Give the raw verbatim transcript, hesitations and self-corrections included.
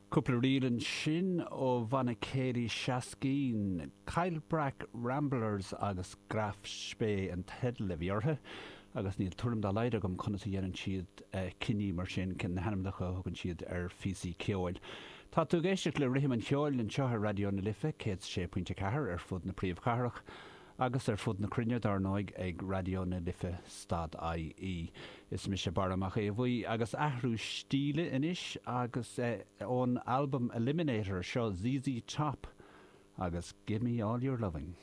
Cúpla ríl ansin ó bhanna céilí Shaskeen, Caillbreac Ramblers agus Graf Spee an teideal a bhí orthu, agus níl tuairim dá laghad agam conas a dhéanann siad cinní mar sin cén na hainmneacha a thugann siad ar phíosaí ceoil. Tá tú ag éisteacht le Rithim an Cheoil anseo ar Raidió na Life céad sé pointe ceathair ar fud na príomhchathrach agus ar fud na cruinne dar ndóigh ag Raidió na Life stad IE. Is mise Barra Mac Aodha Bhuí agus athrú stíle anois agus ón albam Eliminator seo ZZ Top agus Give Me All Your Loving.